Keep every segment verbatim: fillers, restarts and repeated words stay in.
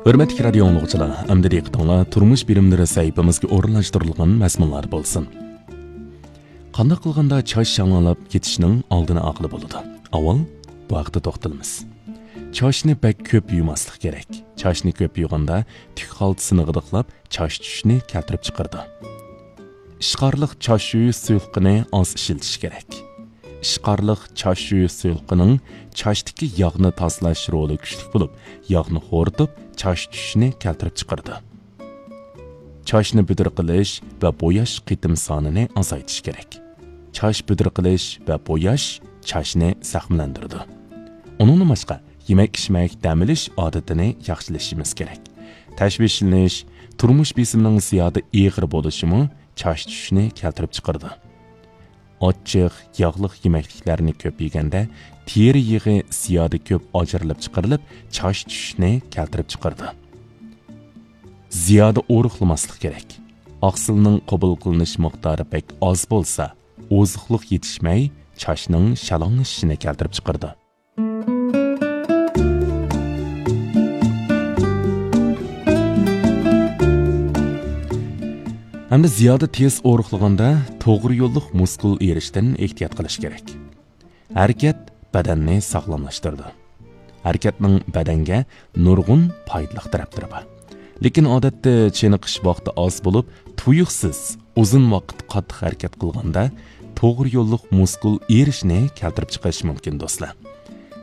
ھۆرمەتلىك رادىيو ئاڭلىغۇچىلار، ئەمدى دىققىتىڭلار تۇرمۇش بىلىملىرى سەھىپىمىزگە ئورۇنلاشتۇرۇلغان مەزمۇنلاردا بولسۇن. قانداق قىلغاندا چاچ شاڭالاپ كېتىشنىڭ ئالدىنى ئالغىلى بولىدۇ؟ ئاۋۋال بۇ ھەقتە توختىلىمىز. چاچنى بەك كۆپ يۇماسلىق كېرەك. چاچنى كۆپ يۇغاندا تۈك خالتىسىنى غىدىقلاپ، چاچ چۈشۈشنى كەلتۈرۈپ چىقىرىدۇ. ئىشقارلىق چاچ يۇيۇش سۇيۇقلۇقىنى ئاز ئىشلىتىش كېرەك. ئىشقارلىق چاچ يۇيۇش سۇيۇقلۇقىنىڭ چاچتىكى ياغنى تازىلاش رولى كۈچلۈك بولۇپ، ياغنى خورىتىپ، چاچ چۈشۈشنى كەلتۈرۈپ چىقىرىدۇ. چاچنى بۈدرە قىلىش ۋە بوياش قېتىم سانىنى ئازايتىش كېرەك. چاچ بۈدرە قىلىش ۋە بوياش چاچنى زەخىملەندۈرىدۇ. ئۇنىڭدىن باشقا، يېمەك-ئىچمەك، دەم ئېلىش ئادىتىنى ياخشىلىشىمىز كېرەك. تەشۋىشلىنىش، تۇرمۇش بېسىمىنىڭ زىيادە ئېغىر بولۇشىمۇ چاچ چۈشۈشنى كەلتۈرۈپ چىقىرىدۇ. ئاچچىق، ياغلىق يېمەكلىكلەرنى كۆپ يېگەندە، تېرە يېغى زىيادە كۆپ ئاجرىلىپ چىقىرىلىپ، چاچ چۈشۈشنى كەلتۈرۈپ چىقىرىدۇ. زىيادە ئورۇقلىماسلىق كېرەك. ئاقسىلنىڭ قوبۇل قىلىنىش مىقدارى بەك ئاز بولسا، ئوزۇقلۇق يېتىشمەي، چاچنىڭ شالاڭلىشىشىنى كەلتۈرۈپ چىقىرىدۇ. ھەمدە زىيادە تېز ئورۇقلىغاندا توغرا يوللۇق مۇسكۇل ئېرىشتىن ئېھتىيات قىلىش كېرەك. ھەرىكەت بەدەننى ساغلاملاشتۇرىدۇ. ھەرىكەتنىڭ بەدەنگە نۇرغۇن پايدىلىق تەرەپلىرى بار. لېكىن ئادەتتە چېنىقىش ۋاقتى ئاز بولۇپ، تۇيۇقسىز ئۇزۇن ۋاقىت قاتتىق ھەرىكەت قىلغاندا، توغرا يوللۇق مۇسكۇل ئېرىشنى كەلتۈرۈپ چىقىرىشى مۇمكىن، دوستلار.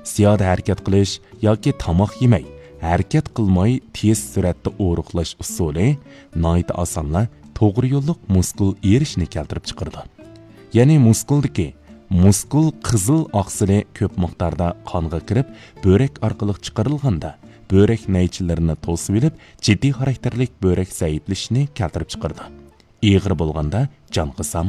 زىيادە ھەرىكەت قىلىش ياكى تاماق يېمەي، ھەرىكەت قىلماي تېز سۈرئەتتە ئورۇقلاش ئۇسۇلى ناھايىتى ئاسانلا توغرا يوللۇق مۇسكۇل ئېرىشنى كەلتۈرۈپ چىقىرىدۇ. يەنى مۇسكۇلدىكى مۇسكۇل قىزىل ئاقسىلى كۆپ مىقداردا قانغا كىرىپ، بۆرەك ئارقىلىق چىقىرىلغاندا، بۆرەك نەيچىلىرىنى توسۇۋېلىپ، جىددىي خاراكتېرلىك بۆرەك زەئىپلىشىشنى كەلتۈرۈپ چىقىرىدۇ. ئېغىر بولغاندا جان قىسامۇ